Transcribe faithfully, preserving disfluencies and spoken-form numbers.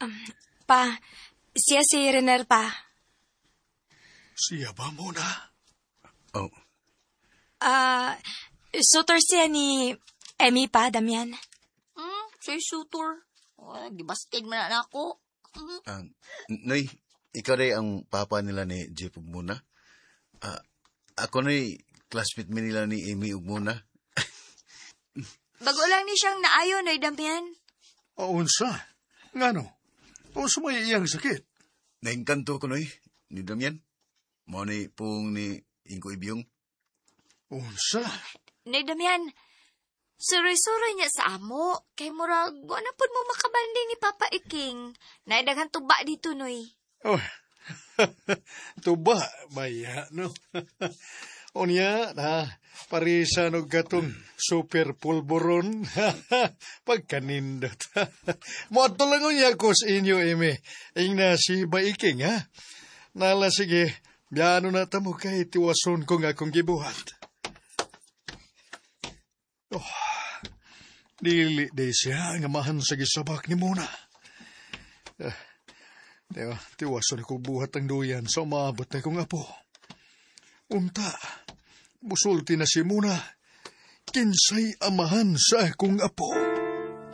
Um, pa, siya si Rener pa. Siya ba muna? Oh, Ah, suitor siya ni Emmy pa, Damian. Hmm, siya suitor. Oh, gibastig man na ako. Hmm. ah, Noy, ikaw rin ang papa nila ni Jeff ug Muna. Ah, ako noy, classmate mi nila ni Amy ug Muna. Bago lang ni siyang naayo, Noy Damian. O unsa? Ngano? Unsa may iyang sakit? Naengkanto ko noy, ni Damian. Mao ni pung ni Ingko Ibyong. Unsa? Noy Damian, suroy-suroy niya sa amo. Kay murag, wa na pud mo makabanding ni Papa Iking. Naidaghan tuba dito, Noy. Oh. Tuba, baya, no? Unya, na, parisan og katong super pulburon. Pagkanindot. Moadto lang unya ko sa inyo, Amy. Ingna si Baiking, ha? Nala, sige, biyano na tamo kay tiwason ko nga akong gibuhat. Oh, dili day siya nga mahan sa gisabak ni Muna. Eh, Tiwa, tiwason ko buhat ang duyan sa umaabot na kong apo. Unta, musulti na si Muna, kinsay amahan sa akong apo.